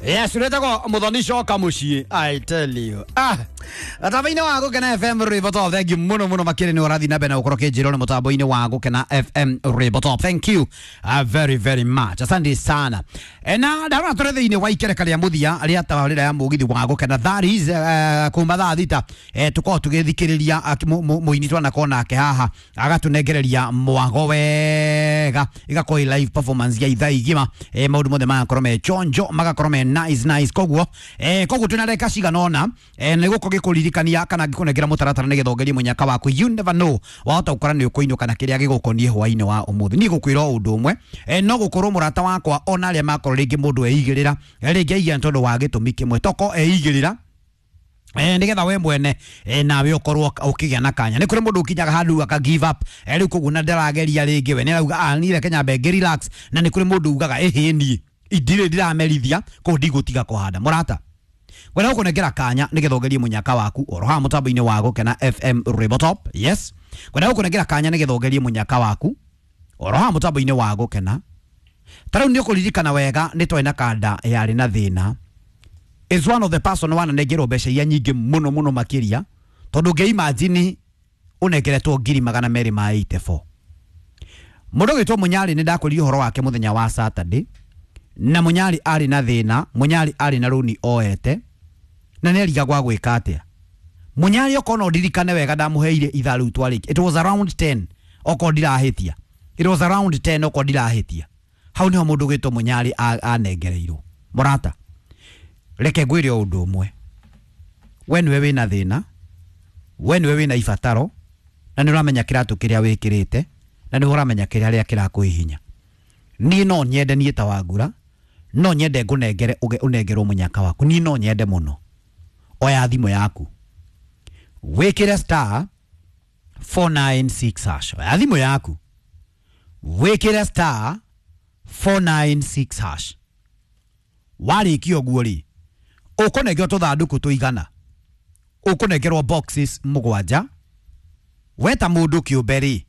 Yes, uretagwo Muthoni coka muciĩ. I tell you. Ah, mũtambo-inĩ wa Gũkena FM Rwĩmbo Top. Thank you mũno mũno makĩria nĩ ũrathiĩ na mbere na gũkorwo kĩnjĩrwo nĩ mũtambo-inĩ wa Gũkena FM Rwĩmbo Top. Thank you very very much. Asante sana. Na ndarora tũrĩ thĩinĩ wa ikereka rĩa mũthia rĩa tabarĩra ya mũgithi wa Gũkena. That is kuma thaa 6 tũkorwo tũgĩthikĩrĩria mũini twanakorwo nake haha agatũnengereria mwago wega, igakorwo ĩ live performance ya ithaa igima. Maũndũ mothe magakorwo me chonjo, magakorwo me nice nice. Koguo koguo twĩna ndagĩka cigana ũna nĩ gũkorwo gĩkũririkania kana ngĩkũnengera mũtaratara nĩgetha ũgerie mũnyaka waku. You never know, wahota gũkora nĩ ũkũinũka na kĩrĩa gĩgũkoniĩ hwaĩ-inĩ wa ũmũthĩ. Niĩ gũkwĩra o ũndũ ũmwe, no gũkorwo mũrata wakwa ona arĩa makorwo rĩngĩ mũndũ eigĩrĩra, rĩngĩ aigĩra nĩ tondũ wa gĩtũmi kĩmwe, toko eigĩrĩra nigetha we mwene nawe ukorwo ukigĩa na kanya. Nĩ kũrĩ mũndũ ũkinyaga handũ aka give up, rĩu koguo na ndarageria rĩngĩ, we nĩ arauga ah niĩ reke nyambe ngĩ relax. Na nĩ kũrĩ mũndũ ugaga ĩhĩ niĩ ndirĩ ndiramerithia kũu ndigũtiga kũhanda. Mũrata, ngwenda gũkũnengera kanya nĩgetha ũgerie mũnyaka waku oro haha mũtambo-inĩ wa Gũkena FM Rwĩmbo Top. Yes, ngwenda gũkũnengera kanya nĩgetha ũgerie mũnyaka waku oro haha mũtambo-inĩ wa Gũkena. Ta rĩu nĩ ũkũririkana wega nĩ twarĩ na kanda yarĩ na thĩna. Is one of the person wananengerwo mbeca iria nyingĩ mũno mũno makĩria, tondũ ũngĩ imagine ũnengeretwo 284,000. Mũndũ ũgwĩtwo Mũnyarĩ nĩ ndakwĩrire ũhoro wake mũthenya wa Saturday, na Mũnyarĩ arĩ na thĩna, Mũnyarĩ arĩ na rũni oete na nĩ arigagwo gwĩka atĩa. Mũnyarĩ okorwo no ndirikane wega ndamũheire ithaa rĩu twarĩkia, it was around 10 okorwo ndirahĩtia, it was around 10 okorwo ndirahĩtia. Hau niho mũndũ ũgwĩtwo Mũnyarĩ anengereirwo. Mũrata, reke ngwĩre o ũndũ ũmwe, we nĩwe wĩna thĩna, we nĩwe wĩna ibataro, na nĩ ũramenya kĩratũ kĩrĩa wĩkĩrĩte, na nĩ ũramenya kĩrĩa kĩrakũhihinya. Niĩ no nyende, niĩ ta Wangura no nyende ngũnengere ũnengerwo mũnyaka waku. Niĩ no nyende mũno. Oya thimũ yaku wĩkĩre star 496 hash. Oya thimũ yaku wĩkĩre star 496 hash. Warĩkia ũguo rĩ, ũkũnengerwo tũthandũkũ tũigana, ũkũnengerwo boxes 7. We ta mũndũ kĩũmbe rĩ,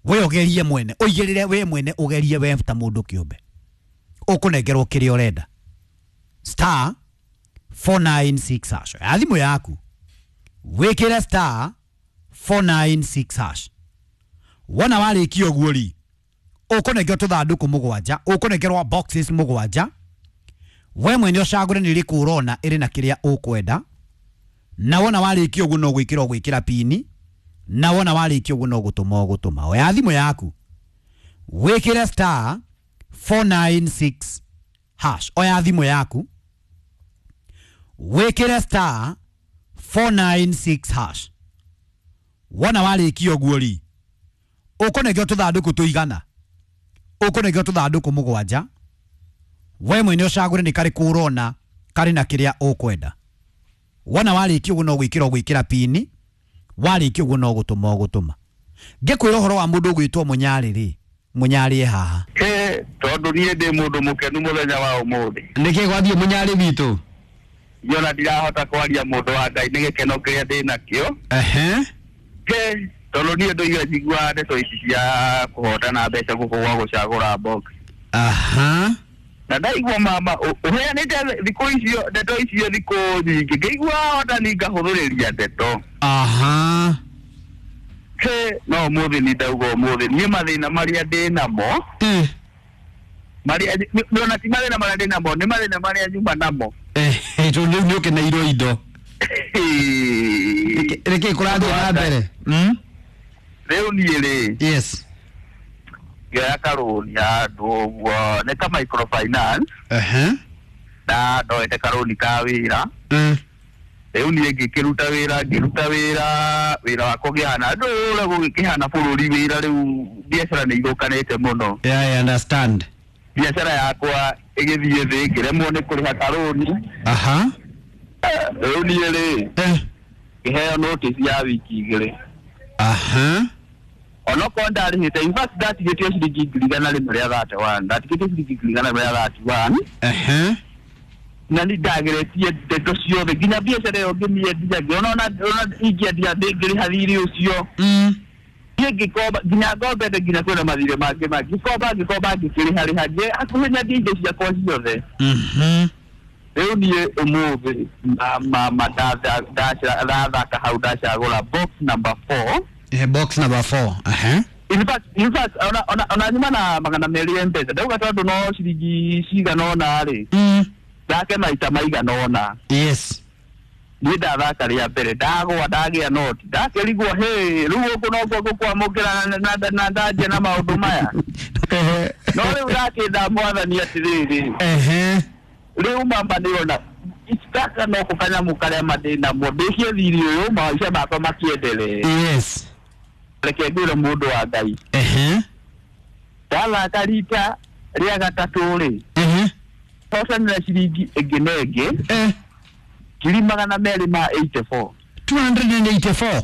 we ũgerie mwene, ũigĩrĩre we mwene, ũgerie we ta mũndũ kĩũmbe, ũkũnengerwo kĩrĩa ũrenda. Star 496 hash. Oya thimũ yaku wĩkĩre star 496 hash. Wona warĩkia ũguo rĩ, ũkũnengerwo tũthandũkũ 7, ũkũnengerwo boxes 7. We mwene ũcagũre nĩ ĩrĩkũ ũrona ĩrĩ na kĩrĩa ũkwenda, na wona warĩkia ũguo no gwĩkĩra ũgwĩkĩra pini, na wona warĩkia ũguo no gũtũma ũgũtũma. Oya thimũ yaku wĩkĩre star 496 hash. Oya thimũ yaku wĩkĩre star 496 hash. Wona warĩkia ũguo rĩ, ũkũnengerwo tũthandũkũ tũigana, ũkũnengerwo tũthandũkũ 7. We mwene ũcagũre nĩ karĩkũ ũrona karĩ na kĩrĩa ũkwenda. Wona warĩkia ũguo no gwĩkĩra ũgwĩkĩra pini, warĩkia ũguo no gũtũma ũgũtũma. Ngĩkwĩra ũhoro wa mũndũ ũgwĩtwo Mũnyarĩ rĩ, Mũnyarĩ e haha. Tondũ niĩ ndĩ mũndũ mũkenu mũthenya wa ũmũthĩ. Nĩkĩ gwathiĩ Mũnyarĩ witũ? Niĩ ndirahota kwaria mũndũ wa Ngai nĩ gĩkeno kĩrĩa ndĩ nakĩo. Tondũ niĩ ndoiga njiguaga ndeto ici cia kũhotana mbeca gũkũ gwa gũcagũra box. Aha. Na ndaigua mama ũheanĩte thikũ icio ndeto icio thikũ nyingĩ, ngĩigua hotani ngahũthĩrĩria ndeto. Aha. No ũmũthĩ nĩ ndauga ũmũthĩ niĩ mathĩna marĩa ndĩ namo, marĩa ona ti mathĩna marĩa ndĩ namo, nĩ mathĩna marĩa nyuma namo. Tondũ rĩu nĩ ũkeneirwo indo. Nĩkĩ kũrathiĩ na mbere? Rĩu niĩ rĩ, yes, ngĩoya karũni handũ ũguo nĩ ka microfinance. Na ndoete karũni ka wĩra. Rĩu niĩ ngĩkĩruta wĩra, ngĩruta wĩra, wĩra wakwa ũkĩhana andũ ũrĩa gũgĩkĩhana bũrũri wĩra rĩu biacara nĩ ithũkanĩte mũno. Yeah, I understand. Biacara yakwa ĩgĩthiĩ thĩ, ngĩremwo nĩ kũrĩha karũni. Aha. Rĩu niĩ rĩ, ngĩheo notice ya wiki 2. Aha. Onokorwo ndarĩhĩte, in fact ndatigĩtio ciringi 131,000, ndatigĩtio ciringi 131,000. Aha. Na nĩ ndageretie ndeto ciothe nginya biacara ĩyo ngĩmĩendia, ngĩona ona ingĩendia ndĩngĩrĩha thirĩ ũcio. Niĩ ngĩkomba nginya ngombete nginya kwĩna mathirĩ mangĩ mangĩ ngĩkomba ngĩkĩrĩha rĩha hakuhĩ nyendie indo ciakwa ciothe. Rĩu niĩ ũmũthĩ mama ndathaka hau ndacagũra box number 4. Box number 4. In fact ona nyuma na 200 M-Pesa ndauga tondũ no ciringi cigana ũna rĩ, thake maita maigana ũna. Yes. Niĩ ndathaka rĩa mbere ndagwa ndagĩa noti ndakĩrigwo hĩ rĩu gũkũ nokuo ngũkwamũkĩra na ndanjia na maũndũ maya. No rĩu ndakĩnda mwathani atĩrĩrĩ, rĩu mama nĩona gaka no kanyamũ karĩa mandĩnamo ndĩkie thirĩ ũyũ maica makwa makĩendelee. Yes. Reke ngwĩre mũndũ wa Ngai, ndathaka rita rĩa gatatũ rĩ, hotanĩra ciringi ĩngĩ na ĩngĩ 284. 284.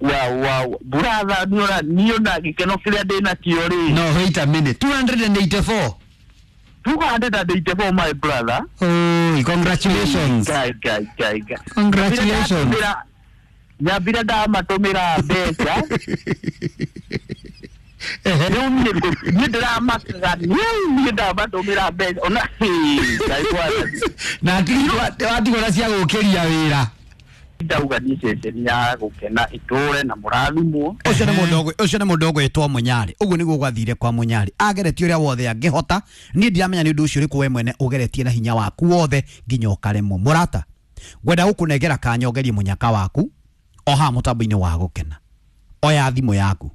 Wow. Brother, niona gĩkeno kĩrĩa ndĩnakĩo rĩ. No, wait a minute. 284. 284, my brother. Oh, congratulations. Guy. Congratulations. Nyambire ndamatũmĩra mbeca. Rĩu niĩ ndĩramakaga niĩ ndamatũmĩra mbeca ona Ngai mwathani. Na watigwo na cia gũkĩria wĩra. Ndauga niĩ ceceni ya gũkena itũre na mũrathimwo. Ũcio nĩ mũndũ ũgwĩtwo Mũnyarĩ. Ũguo nĩguo gwathire kwa Mũnyarĩ. Ageretie ũrĩa wothe angĩhota. Niĩ ndiramenya nĩ ũndũ ũcio ũrĩkũ we mwene ũgeretie na hinya waku wothe nginya ũkaremwo. Mũrata, ngwenda gũkũnengera kanya ũgerie mũnyaka waku o haha mũtambo-inĩ wa gũkena. Oya thimũ yaku,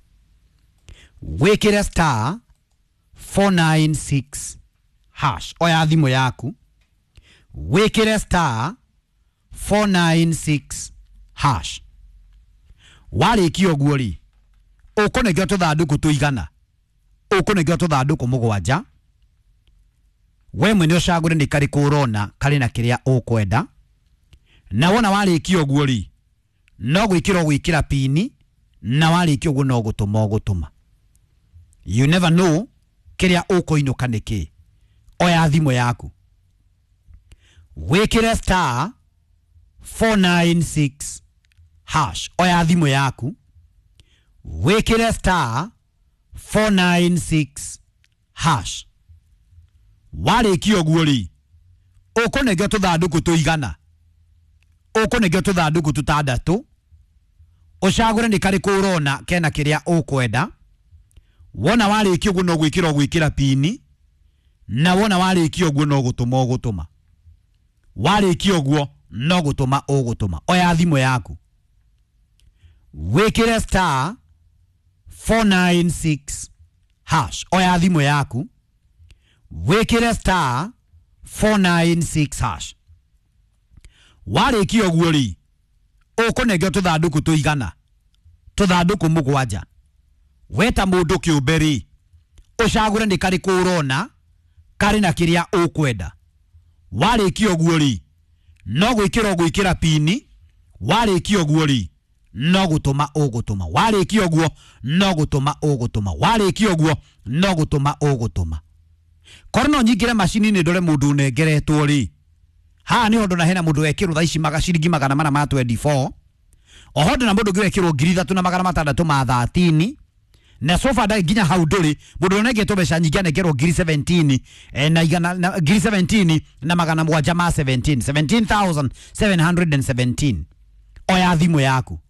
wĩkĩre star 496 hash. Oya thimũ yaku, wĩkĩre star 496 hash. Warĩkia ũguo rĩ, ũkũnengerwo tũthandũkũ tũigana, ũkũnengerwo tũthandũkũ mũgwanja. We mwene ũcagũre nĩ karĩkũ ũrona karĩ na kĩrĩa ũkwenda. Na wona warĩkia ũguo rĩ, no gwĩkĩra ũgwĩkĩra pini, na warĩkia ũguo no gũtũma ũgũtũma. You never know kĩrĩa ũkũinũka nĩ kĩ. Oya thimũ yaku, wĩkĩre star 496 hash. Oya thimũ yaku, wĩkĩre star 496 hash. Warĩkia ũguo rĩ, ũkũnengerwo tũthandũkũ tũigana, ũkũnengerwo tũthandũkũ tũtandatũ. Ũcagũre nĩ karĩkũ ũrona kena kĩrĩa ũkwenda. Wona warĩkia ũguo no gwĩkĩra ũgwĩkĩra pini, na wona warĩkia ũguo no gũtũma ũgũtũma. Warĩkia ũguo no gũtũma ũgũtũma. Oya thimũ yaku, wĩkĩre star 496 hash. Oya thimũ yaku, wĩkĩre star 496 hash. Warĩkia ũguo rĩ, ũkũnengerwo tũthandũkũ tũigana, tũthandũkũ mũgwanja. Weta mũndũ kĩũmbe rĩ, ũcagũre nĩ karĩkũ ũrona karĩ na kĩrĩa ũkwenda. Warĩkia ũguo rĩ, no gwĩkĩra ũgwĩkĩra pini. Warĩkia ũguo rĩ, no gũtũma ũgũtũma. Warĩkia ũguo no gũtũma ũgũtũma. Warĩkia ũguo no gũtũma ũgũtũma. Korwo no nyingĩre macini-inĩ ndore mũndũ ũnengeretwo rĩ, haha nĩho ndona hena mũndũ wekĩrwo thaa ici ciringi 424. Oho ndona mũndũ ũngĩ wekĩrwo 3613. Na sofa ndai nginya hau ndũrĩ mũndũ ũnengetwo mbeca nyingĩ anengerwo 17 na igana na 17 na 700 ma 17 17,717. Oya thimũ yaku,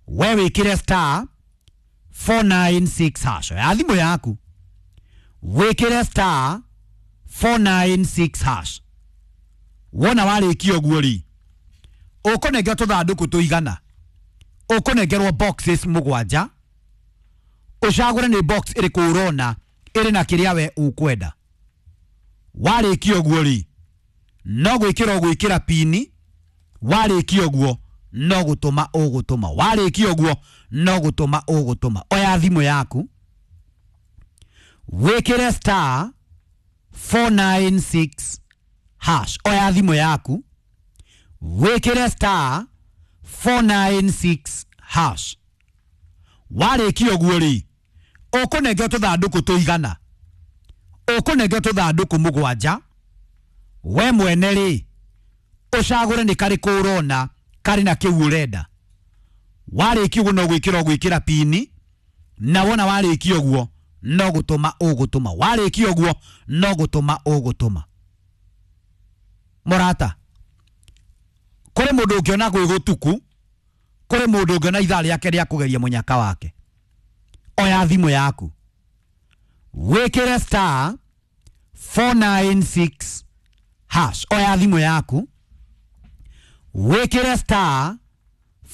we wĩkĩre star 496 hash. Oya thimũ yaku, wĩkĩre star 496 hash. Wona warĩkia ũguo rĩ, ũkũnengerwo tũthandũkũ tũigana, ũkũnengerwo boxes mũgwanja. Ũcagũre nĩ box ĩrĩkũ ũrona ĩrĩ na kĩrĩa we ũkwenda. Warĩkia ũguo rĩ, no gwĩkĩra ũgwĩkĩra pini. Warĩkia ũguo no gũtũma ũgũtũma. Warĩkia ũguo no gũtũma ũgũtũma. Oya thimũ yaku, wĩkĩre star 496 hash. Oya thimũ yaku, wĩkĩre star 496 hash. Warĩkia ũguo rĩ, ũkũnengerwo tũthandũkũ tũigana, ũkũnengerwo tũthandũkũ mũgwanja. We mwene rĩ, ũcagũre nĩ karĩkũ ũrona karĩ na kĩu ũrenda. Warĩkia ũguo no gwĩkĩra ũgwĩkĩra pini, na wona warĩkia ũguo no gũtũma ũgũtũma. Warĩkia ũguo no gũtũma ũgũtũma. Mũrata, kũrĩ mũndũ ũngĩona gwĩ gũtuku, kũrĩ mũndũ ũngĩona ithaa rĩake rĩa kũgeria mũnyaka wake. Oya thimũ yaku, wĩkĩre star 496 hash. Oya thimũ yaku, wĩkĩre star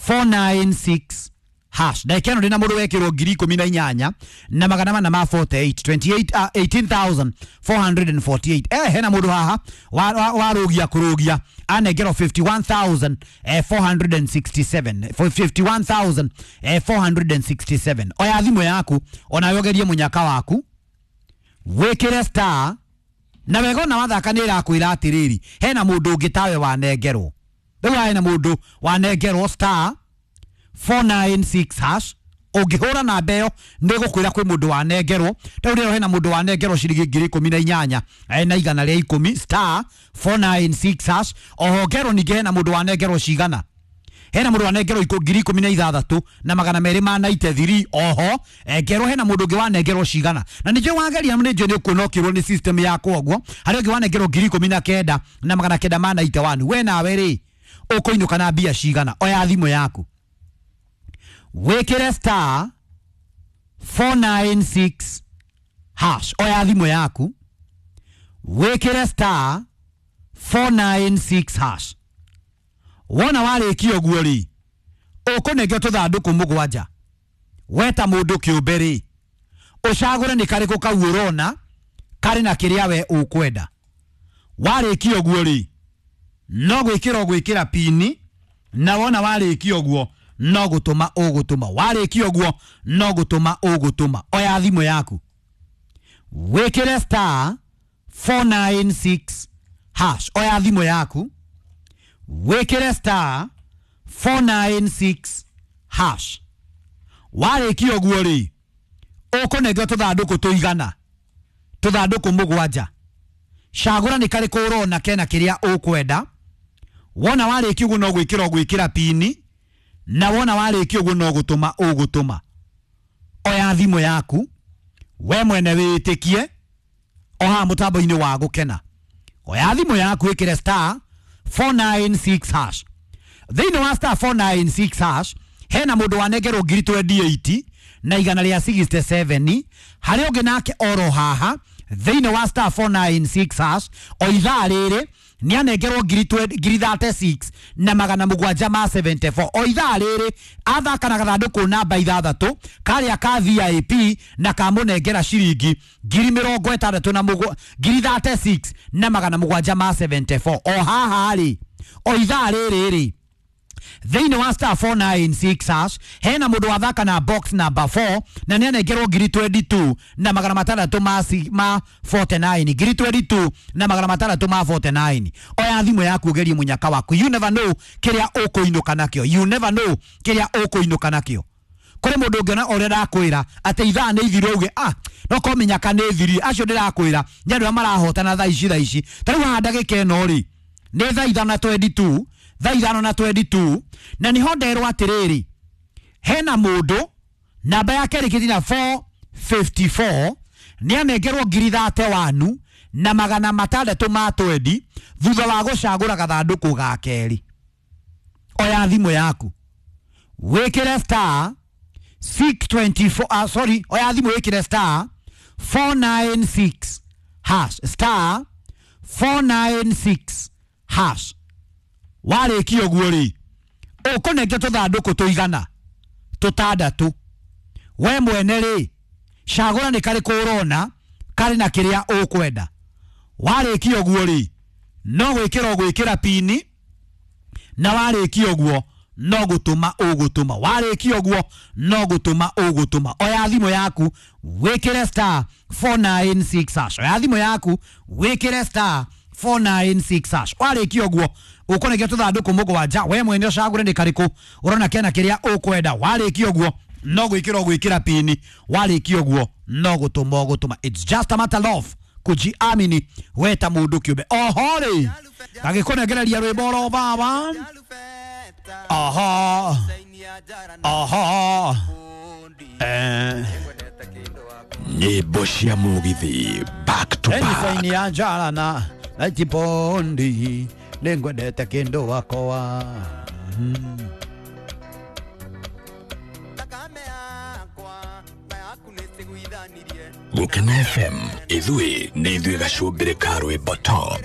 496 hash. Ndagĩka ĩno ndĩna mũndũ wekĩrwo 18,448, 28 18,448. Hena mũndũ haha warũgia kũrũgia anengerwo 51,467, 51,467. Oya thimũ yaku onawe ũgerie mũnyaka waku, wĩkĩre star na wega ona wathaka nĩ ĩrakwĩra atĩrĩrĩ, hena mũndũ ũngĩ tawe wanengerwo. Rĩu hena mũndũ wanengerwo star 496 hash. Ũngĩhũra namba ĩyo nĩ gũkwĩra kwĩ mũndũ wanengerwo. Rĩu rĩro hena mũndũ wanengerwo ciringi 18,110 star 496 hash. Oho ngerwo ningĩ hena mũndũ wanengerwo cigana, hena mũndũ wanengerwo 16,293. Oho ngerwo hena mũndũ ũngĩ wanengerwo cigana, na nĩnjũĩ wageria nĩnjũĩ nĩ ũkuona ũkĩrwo nĩ system yakwa ũguo. Harĩa ũngĩ wanengerwo 19,991. We nawe rĩ ũkũinũka na mbia cigana? Oya thimũ yaku, wĩkĩre star 496 hash. Oya thimũ yaku, wĩkĩre star 496 hash. Wona warĩkia ũguo rĩ, ũkũnengio tũthandũkũ mũgwanja. Weta mũndũ kĩũmbe rĩ, ũcagũre nĩ karĩkũ kau ũrona karĩ na kĩrĩa we ũkwenda. Warĩkia ũguo rĩ, no gwĩkĩra ũgwĩkĩra pini, na wona warĩkia ũguo no gũtũma ũgũtũma. Warĩkia ũguo no gũtũma ũgũtũma. Oya thimũ yaku, wĩkĩre star 496 hash. Oya thimũ yaku, wĩkĩre star 496 hash. Warĩkia ũguo rĩ, ũkũnengio tũthandũkũ tũigana, tũthandũkũ mũgwanja. Cagũra nĩ karĩkũ ũrona kena kĩrĩa ũkwenda. Wona warĩkia ũguo no gwĩkĩra ũgwĩkĩra pini, na wona warĩkia ũguo no gũtũma ũgũtũma. Oya thimũ yaku, we mwene wĩtĩkie o haha mũtambo-inĩ wa Gũkena. Oya thimũ yaku, ĩkĩre star 496 hash. Thĩinĩ wa star 496 hash hena mũndũ wanengerwo 28,167. Harĩ ũngĩ nake oro haha thĩinĩ wa star 496 hash o ithaa rĩrĩ nĩ anengerwo 36,774. O ithaa rĩrĩ athaka na gathandũkũ namba 6 karĩa ka VIP na kamũnengera ciringi 36,774. O haha rĩ, o ithaa rĩrĩ rĩ, thĩinĩ wa star 496 hash hena mũndũ wathaka na box number 4 na nĩ anengerwo 22,649, 22,649. Oya thimũ yaku ũgerie mũnyaka waku. You never know kĩrĩa ũkũinũka nakĩo. You never know kĩrĩa ũkũinũka nakĩo. Kũrĩ mũndũ ũngĩona ũrĩa ndakwĩra atĩ ithaa nĩ ithiru auge ah, no ko mĩnyaka nĩ ĩthirie. Acio ndĩrakwĩra nĩ andũ arĩa marahotana thaa ici thaa ici. Ta rĩu haha ndagĩka ĩno rĩ, nĩ thaa 5:22, thaa 5:22, na niho nderwo atĩrĩrĩ, hena mũndũ namba yake ĩrĩkĩtie na 454 nĩ anengerwo 31,620 thutha wa gũcagũra gathandũkũ ga kerĩ. Oya thimũ yaku, wĩkĩre star 624, sorry, oya thimũ wĩkĩre star 496 hash, star 496 hash. Warĩkia ũguo rĩ, ũkũnengio tũthandũkũ tũigana tũtandatũ. We mwene rĩ, cagũra nĩ karĩkũ ũrona karĩ na kĩrĩa ũkwenda. Warĩkia ũguo rĩ, no gwĩkĩra ũgwĩkĩra pini, na warĩkia ũguo no gũtũma ũgũtũma. Warĩkia ũguo no gũtũma ũgũtũma. Oya thimũ yaku, wĩkĩre star 496 hash. Oya thimũ yaku, wĩkĩre star 496 hash. Warĩkia ũguo ũkũnengio tũthandũkũ mũgwanja. We mwene ũcagũre nĩ karĩkũ ũrona kena kĩrĩa ũkwenda. Warĩkia ũguo no gwĩkĩra ũgwĩkĩra pini. Warĩkia ũguo no gũtũma ũgũtũma. It's just a matter of kujiamini weta mũndũ kĩũmbe. Oho rĩ, gagĩkũnengereria rwĩmbo oro baba. Aha. Aha. Nyĩmbo cia mũgithi back to Eni back. saini ya njara na chipondi nĩngwendete kĩndũ wakwa. Gũkena FM, ithuĩ nĩ ithuĩ gacũmbĩrĩ ka rwĩmbo top.